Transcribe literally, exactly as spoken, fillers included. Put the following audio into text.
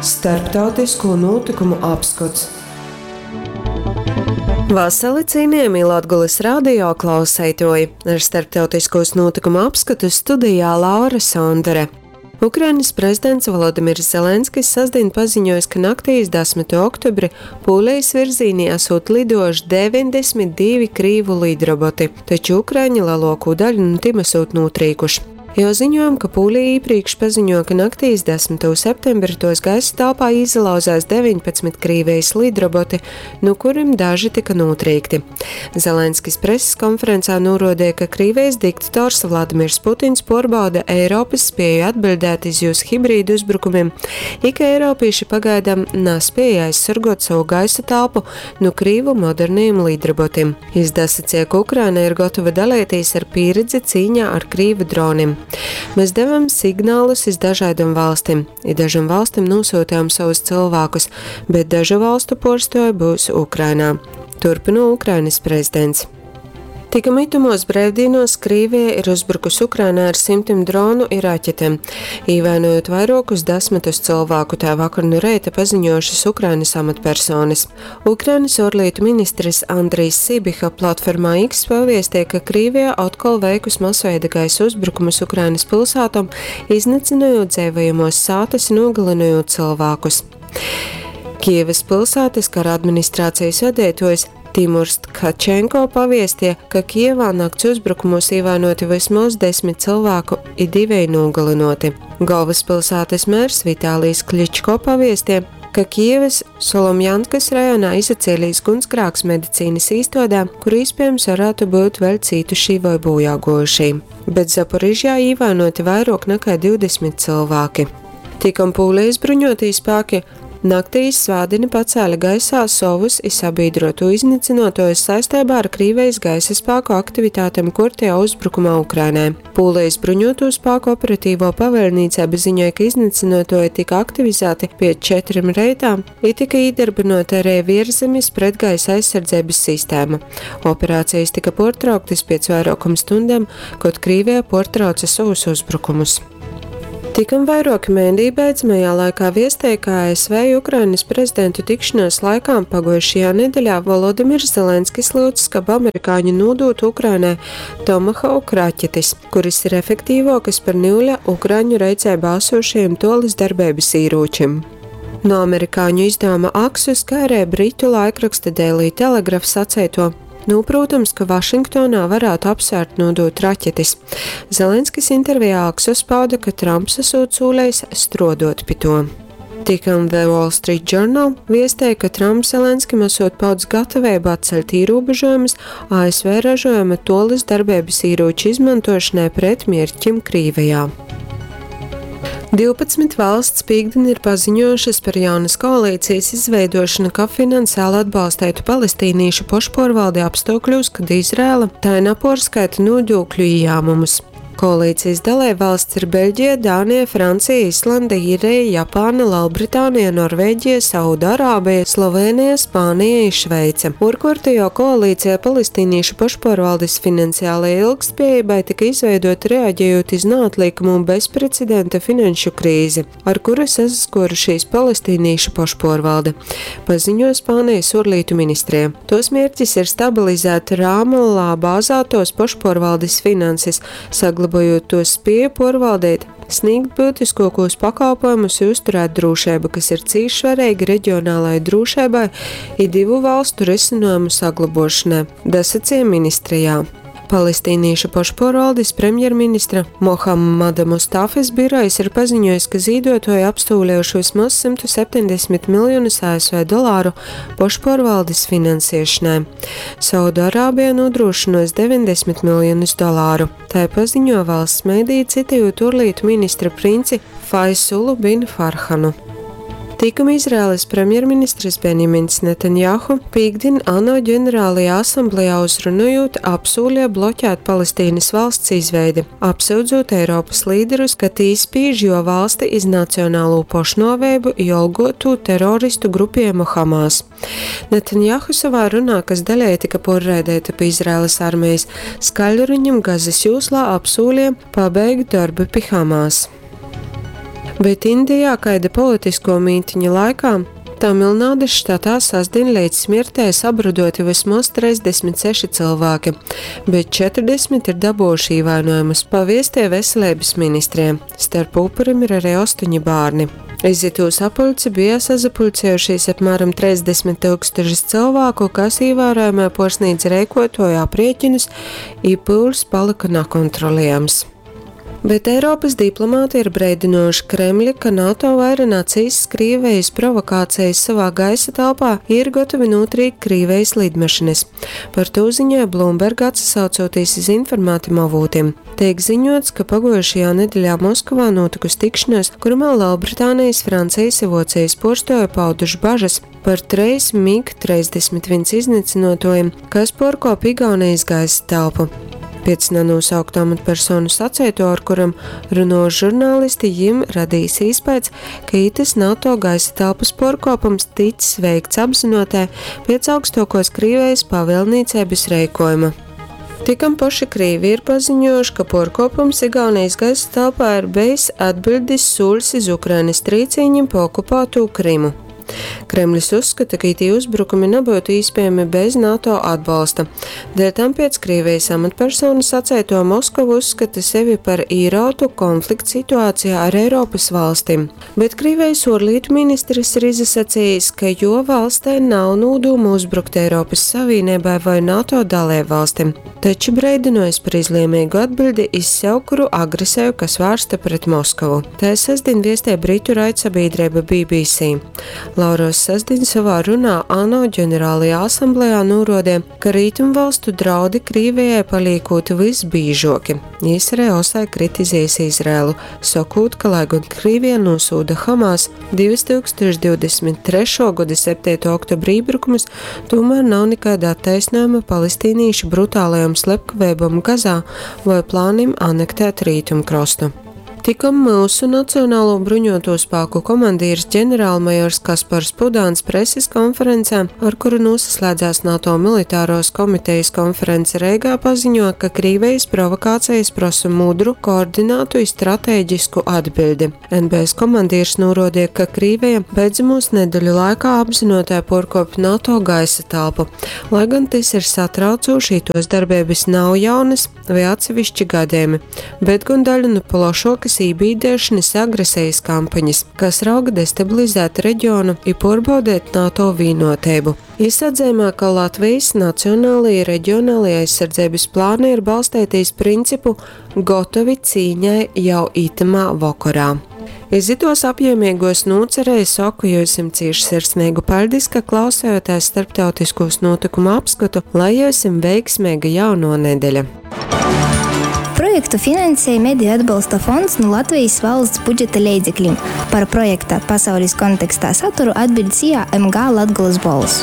Starptautisko nūtykumu apskots. Vasali, cienījamie Latgulas radio klauseitoji! Ar starptautiskos notikumu apskatu studijā Laura Sondere. Ukrainas prezidents Volodimirs Zelenskis sestdien paziņojis, ka naktī iz desmito oktobri Pūlijas virzīnī esot lidojuši deviņdesmit divi krīvu lidroboti, taču ukraiņi lielāko daļu no tiem esot notrīkuši. Jau ziņojam, ka Pūlija iepriekš paziņoja, ka naktī iz desmito septembri tos gaisa telpā izlauzās deviņpadsmit Krīvijas lidroboti, no kuriem daži tika notrīkti. Zelenskis preses konferencē norādīja, ka Krīvijas diktators Vladimirs Putins porbauda Eiropas spēju atbildēt iz jūs hibrīdu uzbrukumiem, ik eiropieši pagaidām nespēja aizsargot savu gaisa telpu no Krīvu moderniem lidrobotiem. Izdasacīja, ka Ukraina ir gatava dalīties ar pieredzi cīņā ar Krīvu droniem. Mēs devam signālus iz dažādām valstīm, i dažām valstīm nosūtījām savus cilvēkus, bet dažu valstu porstoja būs Ukrainā. Turpina Ukrainas prezidents. Tika mitumos brīvdienos Krīvija ir uzbrukusi Ukrainā ar simtiem dronu i raķetēm, īvainojot vairākus desmitus cilvēku, tā vakar no reita paziņojušas Ukrainas amatpersonas. Ukrainas ārlietu ministrs Andrijs Sibiha platformā X paviestīja, ka Krīvija atkal veikus masveida gaisa uzbrukumus Ukrainas pilsētām, iznīcinot dzīvojamos sātas un nogalinot cilvēkus. Kievas pilsētas kara administrācijas vadītājs Timurs Tkačenko paviestīja, ka Kievā nakts uzbrukumos ievainoti vismaz desmit cilvēku i divi nogalinoti. Galvaspilsētas mērs Vitālijs Kličko paviestīja, ka Kievas Solomjankas rajonā izacēlīs gunsgrāks medicīnas īstodē, kur iespējams varētu būt vēl cītušī vai bojāgojušī. Bet Zaporižjā ievainoti vairāk nekā divdesmit cilvēki. Tikam Pūlijas bruņotie spēki naktī svētdieni pacēla gaisā savus i sabiedrotu iznīcinātojus saistībā ar Krīvijas gaisa spēku aktivitātēm kurtajā uzbrukumā Ukrainai. Pūlijas bruņoto spēku operatīvo pavēlniecība ziņoja, ka iznīcinātoji tika aktivizēti pie četriem reitām i tika iedarbināta arī vierzemes pretgaisa aizsardzības sistēma. Operācijas tika portrauktas pēc vairākam stundām, kad Krīvija portrauca savus uzbrukumus. Tikam vairāki mēdī beidzamajā laikā viestēja, ka A S V Ukrainas prezidentu tikšanās laikā pagājušajā nedēļā Volodimirs Zelenskis lūdz, ka amerikāņi nodotu Ukrainai Tomahawk raķetes, kuras ir efektīvākas par niuļa Ukraiņu reicē bāsošajiem tolis darbības īrūčiem. No amerikāņu izdevuma Axios, kā arī britu laikraksta Daily Telegraph sacēto: Nu, protams, ka Vašingtonā varētu apsvērt nodot raķetes. Zelenskis intervijā Axios pauda, ka Trumps esot sūlējis strodot pi to. Tikam The Wall Street Journal viestēja, ka Trumps Zelenskim esot paudz gatavību atceļt ierobežojumus A S V ražojuma tolis darbības ieroču izmantošanai pret mierķim Krīvijā. Divpadsmit valsts pīkdien ir paziņojušas par jaunas koalīcijas izveidošanu, ka finansiāli atbalstētu palestīniešu pošporvaldi apstākļos, kad Izraela tā neporskaita nodokļu ieņēmumus. Koalīcijas dalībvalsts ir Beļģija, Dānija, Francija, Islanda, Īrija, Japāna, Lielbritānija, Norvēģija, Saudārābija, Slovenija, Spānija un Šveice. Urkurtajo koalīcijā palestīniešu pašpārvaldes finansiālajai ilgtspējībai tika izveidota reaģējot iz neatliekamu un bezprecedenta finanšu krīzi, ar kuru sasaskorušīs palestīniešu pašpārvalde, paziņo Spānijas ārlietu ministrija. Tos mērķis ir stabilizēt Rāmallā bāzētos pašpārvaldes finanses, saglabājot to spēju porvaldīt, sniegt būtiskākos pakalpojumus un uzturēt drošību, kas ir cīši svarīgi reģionālai drošībai i divu valstu risinājumu saglabošanai, dasacīja ministrijā. Palestīniešu pašpārvaldes premjerministra Mohamada Mustafas birojs ir paziņojis, ka zīdotoji apstūlējuši vismaz simtu septiņdesmit miljonus A S V dolāru pašpārvaldes finansēšanai. Saudārābija nodrošinos deviņdesmit miljonus dolāru. Tā paziņo valsts mediji, citējot ārlietu ministra princi Faisulu bin Farhanu. Tikam Izraēlas premjerministrs Benjamins Netanjahu pīkdien ANO ģenerālajā asamblējā uzrunājot apsūlīja bloķēt Palestīnas valsts izveidi, apsūdzot Eiropas līderus, ka tī spīž jo valsti iz nacionālo pošnovēbu jolgotu teroristu grupējumu Hamas. Netanjahu savā runā, kas daļai tika porraidēta pa Izraēlas armijas skaļruņam Gazas jūslā apsūlīja pabeigt darbu pie Hamas. Bet Indijā kaida politisko mītiņa laikā Tamilnādas štatā sastdien līdz smirtē sabruduoti vismaz trīsdesmit seši cilvēki, bet četrdesmit ir dabūjuši ievainojumus, paviestie veselības ministriem. Starp upurim ir arī astoņi bērni. Iz itū sapulci bija sasapulcējušies apmēram trīsdesmit tūkstoši cilvēku, kas ievērojamai porsnīdz reikotoju aprēķinus, i pūls palika nekontrolējams. Bet Eiropas diplomāti ir breidinojuši Kremļa, ka NATO vaira nacīs Krievijas provokācijas savā gaisa telpā ir gatavi notrīkt Krievijas lidmašīnas. Par to ziņoja Bloomberg atsaucoties iz informātiem avotiem. Tiek ziņots, ka pagojušajā nedēļā Moskavā notikusi tikšanās, kurumā Lielbritānijas, Francijas un Vocijas porstoja pauduši bažas par treis MiG trīsdesmit viens iznīcinotojiem, kas porkop Igaunijas gaisa telpu. Pēc nenosauktu amatpersonu sacēto, ar kuram runo žurnālisti, jim radījis iespējas, ka itas NATO gaisa telpas porkopums ticis veikts apzinotē pēc augstākos Krievijas pavēlniecības reikojuma. Tikam paši Krīvi ir paziņojuši, ka porkopums Igaunijas gaisa telpā ir bijis atbildis sūls iz Ukrainas trīcīņiem pa okupēto Krimu. Kremlis uzskata, ka itī uzbrukumi nebūtu iespējami bez NATO atbalsta. Dēļ tam pēc Krievijas amatpersonu sacēto Moskavu uzskata sevi par īrautu konflikta situācijā ar Eiropas valstīm. Bet Krievijas ārlietu ministrs ir izsacījis, ka jo valstē nav nodoma uzbrukt Eiropas Savienībai vai NATO dalībvalstīm, taču breidinojis par izlēmīgu atbildi iz sevkuru agresiju, kas vērsta pret Moskavu. Tā sestdien viestē Britu raidsabiedrība B B C. Lauros sestdien savā runā ANO ģenerālajā asamblējā norādīja, ka rietumvalstu draudi Krievijai paliekot visbīžoki. Jis arī osai kritizējis Izraēlu, sakot, ka lai gan Krievija nosūda Hamas divtūkstoš divdesmit trešo gada septīto oktobra iebrukumus, tomēr nav nekāda attaisnojuma palestīniešu brutālajam slepkavībam Gazā vai plānim anektēt rietumkrastu. Tikam mūsu Nacionālo bruņoto spēku komandieris ģenerālmajors Kaspars Pudāns preses konferencē, ar kuru noslēdzās NATO militāros komitejas konference Reigā, paziņo, ka Krievijas provokācijas prasa mudru, koordinātu un strateģisku atbildi. N B S komandieris norādīja, ka Krievija beidzamos nedēļu laikā apzinotē porkop NATO gaisa telpu. Lai gan tas ir satraucoši, tos darbības nav jaunas vai atsevišķi gadījumi, bet gan daļa no plašākas ībīdēšanas agresijas kampaņas, kas rauga destabilizēt reģionu un pārbaudīt NATO vienotību. Izsadzējumā, ka Latvijas nacionālajie reģionālajie aizsardzības plāni ir balstīties principu gotovi cīņai jau itamā vakarā. Iz itos apjēmīgos nocerēju saku jums cieši sirsnīgu paldies, ka klausējāties starptautiskos notikumu apskatu, lai jums veiksmīga jauno nedēļa. Projektu finansēja Mediju atbalsta fonds no Latvijas valsts budžeta leidzekļiem. Par projekta pasaules kontekstā saturu atbild S I A M G Latgulas Bols.